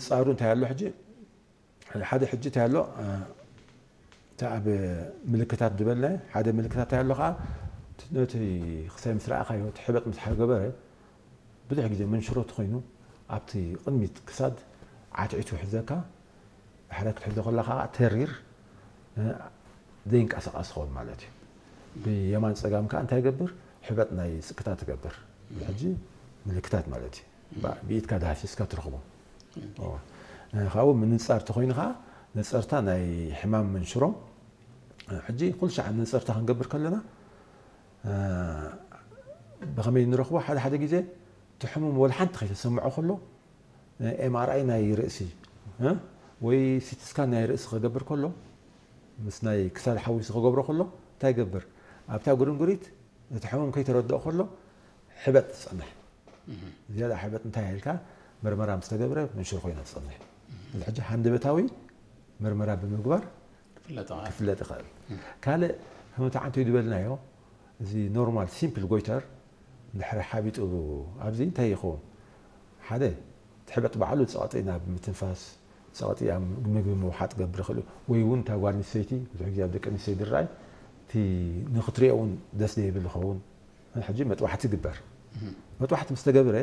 ፃሩ እንታይ ኣሎ ሕጂ? ሓደ ሕጂ እንታይ ኣሎ? እቲ ኣብ ምልክታት ዝበልና ሓደ ምልክታት እንታይ ኣሎ ከዓ? ነቲ ክሳይ ምስ ረኣኻዮ፣ እቲ ሕበጥ ምስ ሓገበረ፣ ብዙሕ ግዜ መንሽሮ ተኾይኑ ኣብቲ ቅድሚት ክሳድ ዓትዒቱ ይሕዘካ። ብሓደ ክትሕዞ ከለኻ ከዓ ተሪር ዘይንቀሳቐስ ክኸውን ማለት እዩ። ብየማን ፀጋም ከዓ እንታይ ይገብር? ሕበጥ ናይ ፅቅታ ትገብር። ሕጂ ምልክታት ማለት እዩ። ብኢድካ ዳህሲስካ ትረኽቦ። ካብኡ ምንፃር ተኾይኑ ከዓ ነፀርታ ናይ ሕማም መንሽሮ። ሕጂ ኩሉ ሻዕ ነፀርታ ክንገብር ከለና ብኸመይ ንረኽቦ? ሓደ ሓደ ግዜ እቲ ሕሙም ወላ ሓንቲ ከይተሰምዖ ከሎ ኤምኣርኣይ ናይ ርእሲ ወይ ሲቲስካን ናይ ርእሲ ክገብር ከሎ ምስ ናይ ክሳድ ሓዊሱ ክገብሮ ከሎ እንታይ ይገብር? ኣብታ ጉርንጉሪት እቲ ሕሙም ከይተረድኦ ከሎ ሕበጥ ትፀንሕ። ዝያዳ ሕበጥ እንታይ ኢልካ ምርመራ ምስ ተገብረ መንሽሮ ኮይና ትፀንሕ። እዚ ሕጂ ሃንደበታዊ ምርመራ ብምግባር ክፍለጥ ይኽእል። ካልእ ከምቲ ዓንተይ ዝበልናዮ እዚ ኖርማል ሲምፕል ጎይተር ድሕሪ ሓቢጡ ኣብዚ እንታይ ይኸውን? ሓደ እቲ ሕበጥ ባዕሉ ፀቕጢ ናብ ምትንፋስ፣ ፀቕጢ ኣብ ምግቢ ምውሓጥ ገብር ይኽእል እዩ። ወይ እውን እታ ጓል ኣንስተይቲ፣ ብዙሕ ግዜ ኣብ ደቂ ኣንስተይቲ ዝረኣይ፣ እቲ ንኽትሪኦ እውን ደስ ዘይብል ይኸውን። ሕጂ መጥባሕቲ ይግበር። መጥባሕቲ ምስ ተገብረ፣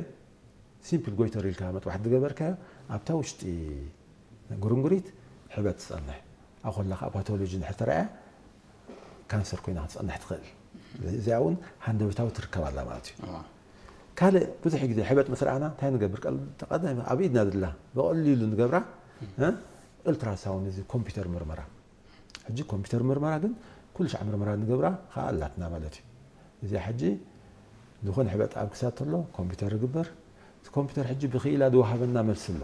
ሲምፕል ጎይተር ኢልካ መጥባሕቲ ዝገበርካዮ፣ ኣብታ ውሽጢ ጉርንጉሪት ሕበጥ ትፀንሕ። ኣብ ከላ ከዓ ፓቶሎጂ እንድሕር ተረኣያ፣ ካንሰር ኮይና ክትፀንሕ ትኽእል። እዚኣ እውን ሃንደበታዊ ትርከብ ኣላ ማለት እዩ። ካልእ ብዙሕ ግዜ ሕበጥ ምስ ረኣና እንታይ ንገብር? ቀል-፣ ቀዳም ኣብ ኢድና ዘላ ብቐሊሉ ንገብራ፣ እ፣ ኡልትራሳውንድ፣ እዚ ኮምፒውተር ምርመራ። ሕጂ ኮምፒውተር ምርመራ ግን ኩሉ ሻዕ ምርመራ ንገብራ ከዓ ኣላትና ማለት እዩ። እዚኣ ሕጂ ዝኾነ ሕበጥ ኣብ ክሳድ ተሎ ኮምፒውተር ይግበር። እቲ ኮምፒውተር ሕጂ ብክኢላ ዝወሃበና መልሲ ኣሎ።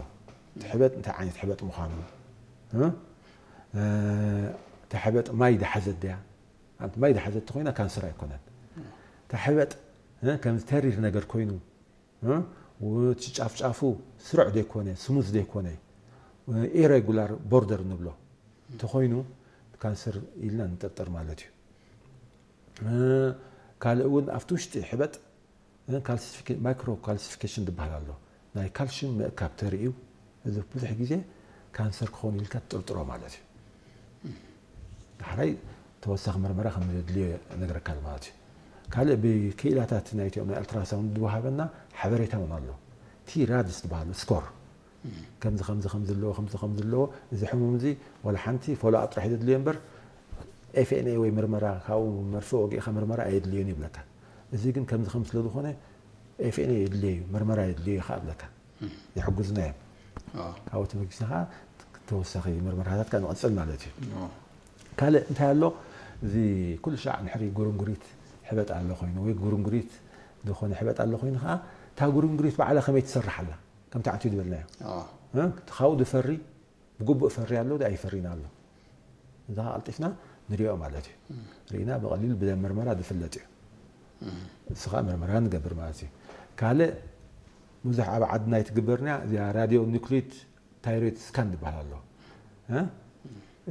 እቲ ሕበጥ እንታይ ዓይነት ሕበጥ ምዃኑ፣ እ፣ እ፣ እታ ሕበጥ ማይ ዝሓዘት ድያ? ኣንቲ ማይ ዝሓዘት ተኾይና ካንሰር ኣይኮነን። እታ ሕበጥ፣ እ፣ ከምዚ ተሪር ነገር ኮይኑ፣ እ፣ እቲ ጫፍጫፉ ስሩዕ ዘይኮነ፣ ስሙዝ ዘይኮነ፣ እ፣ ኢሬጉላር ቦርደር ንብሎ እንተኾይኑ ካንሰር ኢልና ንጠርጠር ማለት እዩ። እ፣ ካልእ እውን ኣብቲ ውሽጢ ሕበጥ፣ እ፣ ካልሲፊኬ-፣ ማይክሮ ካልሲፊኬሽን ዝበሃል ኣሎ። ናይ ካልሽየም ምእካብ ተርእዩ፣ እዚ ብዙሕ ግዜ ካንሰር ክኸውን ኢልካ ትጥርጥሮ ማለት እዩ። ዳሕራይ ተወሳኺ ምርመራ ከም ዘድልዮ ነገረካ ኣሎ ማለት እዩ። ካልእ ብክኢላታት ናይቲኦም ናይ ኣልትራሳውንድ ዝወሃበና ሓበሬታ እውን ኣሎ። እቲ ራድስ ዝበሃሉ ስኮር፣ ከምዚ፣ ከምዚ፣ ከምዚ ኣለዎ፣ ከምዚ፣ ከምዚ ኣለዎ፣ እዚ ሕሙም እዚ ዋላ ሓንቲ ፎሎ ኣፕ ጥራሕ ዘድልዮ እምበር፣ ኤፍ ኤን ኤ ወይ ምርመራ ካብኡ መርፌ ወጊእካ ምርመራ ኣየድልዮን ይብለካ። እዚ ግን ከምዚ፣ ከምዚ ስለ ዝኾነ ኤፍ ኤን ኤ የድልዮ እዩ፣ ምርመራ የድልዮ እዩ ከዓ ይብለካ። ይሕግዙና እዮም። ኣዎ። ካብኡ ተበጊስና ከዓ ተወሳኺ ምርመራታት ከዓ ንቐፅል ማለት እዩ። ኣዎ። ካልእ እንታይ ኣሎ? እዚ ኩሉ ሻዕ ንሕሪ ጉርንጉሪት ሕበጥ ኣሎ ኮይኑ ወይ ጉርንጉሪት ዝኾነ ሕበጥ ኣሎ ኮይኑ ከዓ እታ ጉርንጉሪት ባዕላ ከመይ ትሰርሕ ኣላ? ከምቲ ዓንቱ ዝበልናዮ። ኣዎ። እ? እቲ ካብኡ ዝፈሪ ብግቡእ ፈሪ ኣሎ፣ ኣይፈሪን ኣሎ። እዛ ቀልጢፍና ንሪኦ ማለት እዩ። ርኢና ብቐሊሉ ብመርመራ ዝፍለጥ እዩ። እሱ ከዓ ምርመራ ንገብር ማለት እዩ። ካልእ ብዙሕ ኣብ ዓድና ኣይትግበርና እዚኣ ራድዮ ኒክሊድ ታይሮይድ ስካን ዝበሃል ኣሎ። እ?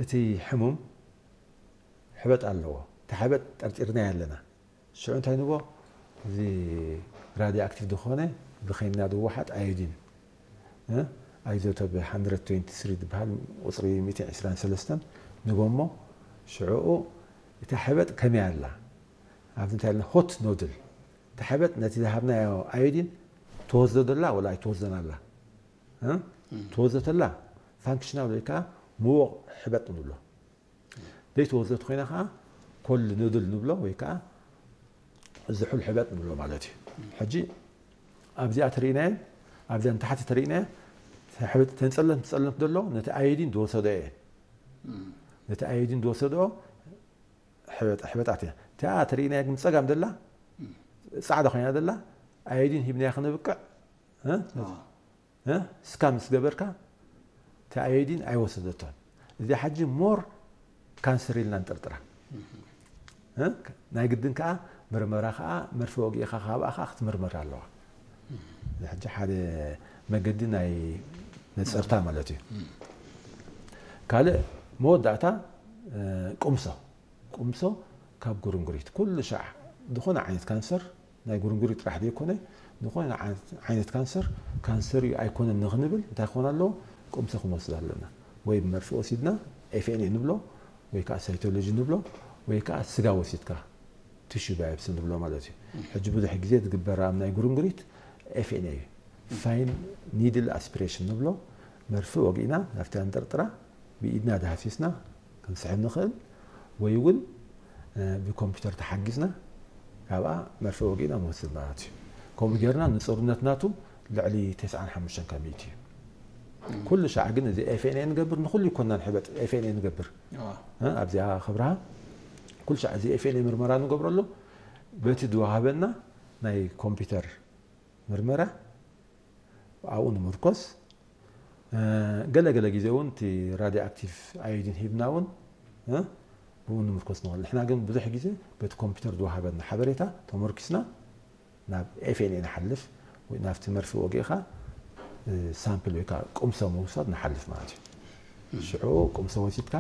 እቲ ሕሙም ሕበጥ ኣለዎ። እቲ ሕበጥ ጠርጢርናዮ ኣለና። ሽዑ እንታይ ንብሎ? እዚ ራድዮ ኣክቲቭ ዝኾነ ብኸይንና ዝወሓጥ ኣዮዲን፣ እ? ኣይዞቶፕ ሃንድረድ ትዌንቲ ስሪ ዝበሃል ቁፅሪ ሚእትን ዕስራን ሰለስተን ንቦ እሞ ሽዑኡ እታ ሕበጥ ከመይ ኣላ? ኣብዚ እንታይ ኣለና? ሆት ኖድል። እታ ሕበጥ ነቲ ዝሃብናዮ ኣዮዲን ትወስዶ ደላ ወላ ኣይትወስዶን ኣላ? እ? ትወስዶ ተላ ፋንክሽናል ወይ ከዓ ምዉቕ ሕበጥ ንብሎ። ዘይተወዘት ኮይና ከዓ ኮል ኖድል ንብሎ ወይ ከዓ ዝሑል ሕበጥ ንብሎ ማለት እዩ። ሕጂ ኣብዚኣ ተርእናየን ኣብዚኣ ንታሕቲ ተርእናየን ሕበጥ ተንፀለምቲ ፀለምቲ ዘሎ ነቲ ኣዮዲን ዝወሰዶ እየን። ነቲ ኣዮዲን ዝወሰዶ ሕበጥ-፣ ሕበጣት እያ። እቲኣ ተርእናያ ግን ፀጋም ዘላ ፃዕዳ ኮይና ዘላ ኣዮዲን ሂብናያ ከነብቅዕ፣ እ? እ? ስካን ምስ ገበርካ እቲ ኣዮዲን ኣይወሰደቶን። እዚኣ ሕጂ ሞር ካንሰር ኢልና ንጠርጥራ። እ? ናይ ግድን ከዓ ምርመራ ከዓ መርፌ ወጊእኻ ካብኣ ከዓ ክትምርመር ኣለዋ። እዚ ሕጂ ሓደ መገዲ ናይ ነፀርታ ማለት እዩ። ካልእ መወዳእታ፣ እ፣ ቁምሶ። ቁምሶ ካብ ጉርንጉሪት ኩሉ ሻዕ ዝኾነ ዓይነት ካንሰር ናይ ጉርንጉሪት ጥራሕ ዘይኮነ ዝኾነ ዓይነት፣ ዓይነት ካንሰር ካንሰር እዩ ኣይኮነን ንኽንብል እንታይ ክኾን ኣለዎ? ቁምሰ ክንወስድ ኣለና። ወይ ብመርፍእ ወሲድና ኤፍኤንኤ ንብሎ፣ ወይ ከዓ ሳይቶሎጂ ንብሎ፣ ወይ ከዓ ስጋ ወሲድካ ቲሹ ባዮፕሲ ንብሎ ማለት እዩ። ሕጂ ብዙሕ ግዜ ዝግበር ኣብ ናይ ጉርንጉሪት ኤፍኤንኤ እዩ። ፋይን ኒድል ኣስፒሬሽን ንብሎ፣ መርፍእ ወጊእና ናብቲ ኣንጠርጥራ ብኢድና ዳህሲስና ክንስሕብ ንኽእል፣ ወይ እውን ብኮምፒውተር ተሓጊዝና ካብኣ መርፍእ ወጊእና ንወስድ ማለት እዩ። ከምኡ ጌርና ንፅሩነት ናቱ ልዕሊ ተስዓን ሓሙሽተን ካብ ሚእቲ እዩ። ኩሉ ሻዕ ግን እዚ ኤፍኤንኤ ንገብር፣ ንኩሉ ይኮና ንሕበጥ ኤፍኤንኤ ንገብር ኣብዚኣ ክብርሃ ኩሉ ሻዕ እዚ ኤፍኤንኤ ምርመራ ንገብረሉ በቲ ዝወሃበና ናይ ኮምፒውተር ምርመራ ኣብኡ ንምርኮስ፣ ገለገለ ግዜ እውን እቲ ራድዮ ኣክቲቭ ኣዮዲን ሂብና እውን ብኡ ንምርኮስ ንኽእል። ንሕና ግን ብዙሕ ግዜ በቲ ኮምፒውተር ዝወሃበና ሓበሬታ ተመርኪስና ናብ ኤፍኤንኤ ንሓልፍ፣ ወይ ናብቲ መርፍእ ወጊእኻ ሳምፕል ወይ ከዓ ቁምሰ ምውሳድ ንሓልፍ ማለት እዩ። ሽዑ ቁምሰ ወሲድካ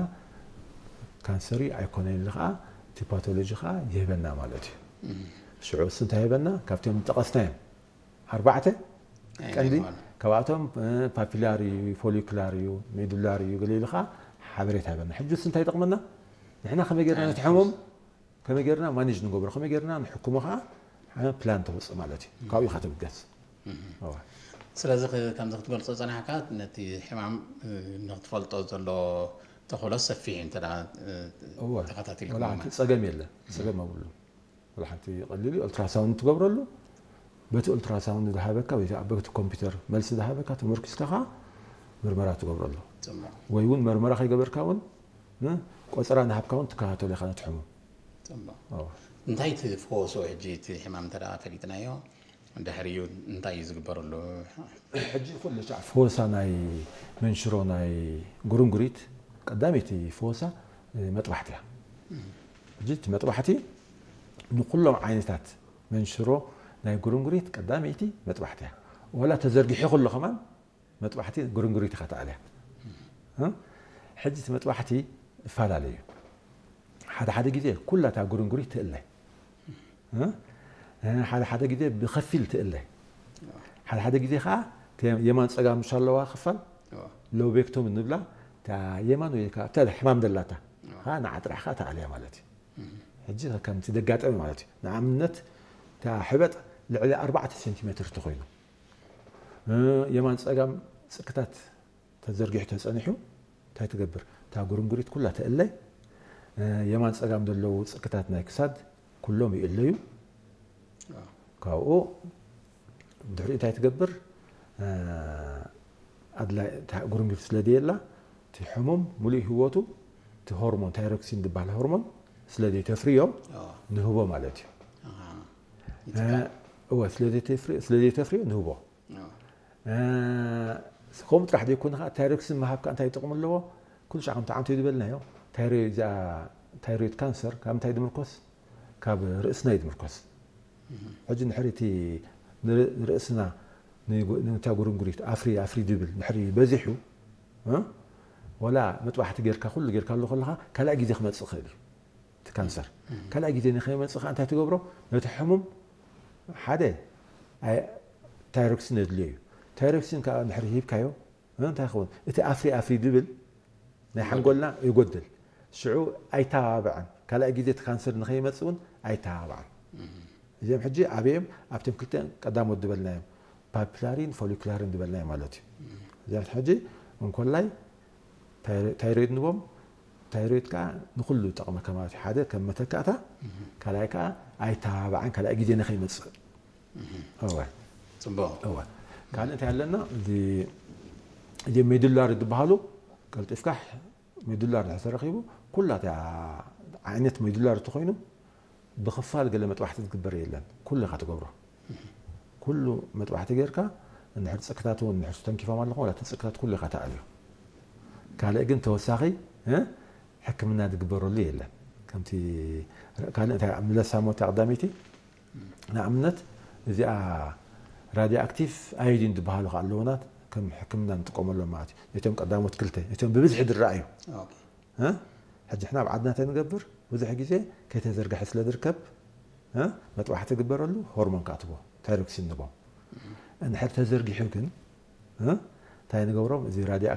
ካንሰር እዩ ኣይኮነን ኢሉ ከዓ እቲ ፓቶሎጂ ከዓ ይህበና ማለት እዩ። ሽዑ እሱ እንታይ ይህበና? ካብቶም ዝጠቐስናዮም ኣርባዕተ ቀንዲ ካብኣቶም ፓፒላር እዩ፣ ፎሊኩላር እዩ፣ ሜዱላር እዩ ገለ ኢሉ ከዓ ሓበሬታ ይህበና። ሕጂ እሱ እንታይ ይጠቕመና? ንሕና ከመይ ጌርና ነቲ ሕሙም ከመይ ጌርና ማኔጅ ንገብሮ፣ ከመይ ጌርና ንሕክሞ ከዓ ፕላን ተውፅእ ማለት እዩ። ካብኡ ኢኻ ትብገስ። ስለዚ ከምዚ ክትገልፆ ፀናሕካ ነቲ ሕማም ንክትፈልጦ ዘሎ ተኽእሎ ሰፊሕ እዩ። እንተ ተኸታቲልካ ጸገም የለ፣ ጸገም ኣብሉ። ሓንቲ ቀሊል ኦልትራሳውንድ ትገብረሉ፣ በቲ ኦልትራሳውንድ ዝሃበካ ወይ በቲ ኮምፒውተር መልሲ ዝሃበካ ተመርኪስካ ከዓ ምርመራ ትገብረሉ። ወይ እውን መርመራ ከይገበርካ እውን ቆፀራ ናሃብካ እውን ትከታተሎ ኢኻ ነቲ ሕሙም። እንታይ ትፈወሶ ሕጂ እቲ ሕማም እንተ ፈሊጥናዮ ድሕሪኡ እንታይ እዩ ዝግበረሉ? ሕጂ ኩሉ ሻዕ ፈወሳ ናይ መንሽሮ ናይ ጉርንጉሪት ቀዳመይቲ ፈወሳ መጥባሕቲ እያ። ሕጂ እቲ መጥባሕቲ ንኩሎም ዓይነታት መንሽሮ ናይ ጉርንጉሪት ቀዳመይቲ መጥባሕቲ እያ። ዋላ ተዘርጊሑ ከሎ ከማን መጥባሕቲ ጉርንጉሪት ኢኻ ተኣልያ። ሕጂ እቲ መጥባሕቲ እፈላለዩ እዩ። ሓደ ሓደ ግዜ ኩላ እታ ጉርንጉሪት ትእለ፣ ሓደ ሓደ ግዜ ብኸፊል ትእለ፣ ሓደ ሓደ ግዜ ከዓ የማን ፀጋም ምሽ ኣለዋ ክፋል ሎቤክቶም እንብላ የማን ወይ ሕማም ደላታ ከዓ ንዓጥራሕ ከዓ ተኣልያ ማለት እዩ። ሕጂ ከምቲ ደጋጠመ ማለት እዩ። ንኣብነት እታ ሕበጥ ልዕሊ ኣርባዕተ ሴንቲሜትር ተኮይኑ የማን ፀጋም ፅክታት ተዘርጊሑ ተፀኒሑ እንታይ ትገብር? እታ ጉርንጉሪት ኩላ ተእለ፣ የማን ፀጋም ዘለዉ ፅክታት ናይ ክሳድ ኩሎም ይእለዩ። ካብኡ ድሕሪኡ እንታይ ትገብር? ኣድላይ ጉርንጉሪት ስለ ደየላ እቲ ሕሙም ሙሉእ ህይወቱ እቲ ሆርሞን ታይሮክሲን ዝበሃል ሆርሞን ስለ ዘይተፍርዮ ንህቦ ማለት እዩ። እወ ስለ ዘይተፍርዮ ንህቦ። ከምኡ ጥራሕ ዘይኮነ ከዓ ታይሮክሲን ምሃብ ከዓ እንታይ ጥቕሚ ኣለዎ? ኩሉ ሻዕ ከምቲ ዓንቶ ዝበልናዮ ታይሮይድ ካንሰር ካብ ምንታይ ዝምርኮስ? ካብ ርእስና እዩ ዝምርኮስ። ሕጂ ንሕሪ እቲ ንርእስና ንታ ጉርንጉሪት ኣፍሪ ኣፍሪ ዝብል ንሕሪ በዚሑ ወላ መጥባሕቲ ጌርካ ኩሉ ጌርካ ኣሎ ከለካ ካልኣይ ግዜ ክመፅእ ይኽእል እዩ። እቲ ካንሰር ካልኣይ ግዜ ንከይመፅእ ከዓ እንታይ ትገብሮ? ነቲ ሕሙም ሓደ ታይሮክሲን የድልዮ እዩ። ታይሮክሲን ከዓ ድሕሪ ሂብካዮ እንታይ ይኸውን? እቲ ኣፍሪ ኣፍሪ ዝብል ናይ ሓንጎልና ይጎድል። ሽዑ ኣይተባብዐን፣ ካልኣይ ግዜ እቲ ካንሰር ንከይመፅእ እውን ኣይተባብዐን። እዚኦም ሕጂ ኣበዮም ኣብቶም ክልተ ቀዳሞት ዝበልናዮም ፓፒላሪን ፎሊኩላርን ዝበልናዮ ማለት እዩ። እዚኦም ሕጂ እንኮላይ ታይሮይድ ንቦም። ታይሮይድ ከዓ ንኩሉ ይጠቕመካ ማለት እዩ። ሓደ ከም መተካእታ፣ ካልኣይ ከዓ ኣይተባብዓን ካልኣይ ግዜ ንከይመፅእ። እወ ፅቡቅ። እወ ካልእ እንታይ ኣለና? እዚ ሜዱላር ዝበሃሉ ቀልጢፍካ ሜዱላር ድሕር ተረኪቡ ኩላ እታ ዓይነት ሜዱላር እንተኮይኑ ብክፋል ገለ መጥባሕቲ ዝግበር የለን። ኩሉ ኢካ ትገብሮ። ኩሉ መጥባሕቲ ጌርካ እንድሕር ፅክታት እውን እንድሕር ተንኪፎም ኣለኹ ዋላ እቲ ፅክታት ኩሉ ኢካ ተኣልዮ። ካልእ ግን ተወሳኺ ሕክምና ዝግበረሉ የለን። ከምቲ ካልእ እንታይ ምለሳ ሞታ ቀዳመይቲ ንኣብነት እዚኣ ራድዮ ኣክቲቭ ኣዮዲን ዝበሃሉ ከዓ ኣለውና ከም ሕክምና ንጥቀመሎም ማለት እዩ። ነቶም ቀዳሞት ክልተ ነቶም ብብዝሒ ዝረኣዩ ሕጂ ሕና ኣብ ዓድና እንታይ ንገብር? ብዙሕ ግዜ ከይተዘርግሐ ስለ ዝርከብ መጥባሕቲ ግበረሉ፣ ሆርሞን ከዓ ትቦ ታይሮክሲን ንቦ። እንድሕር ተዘርጊሑ ግን እንታይ ንገብሮም? እዚ ራድዮ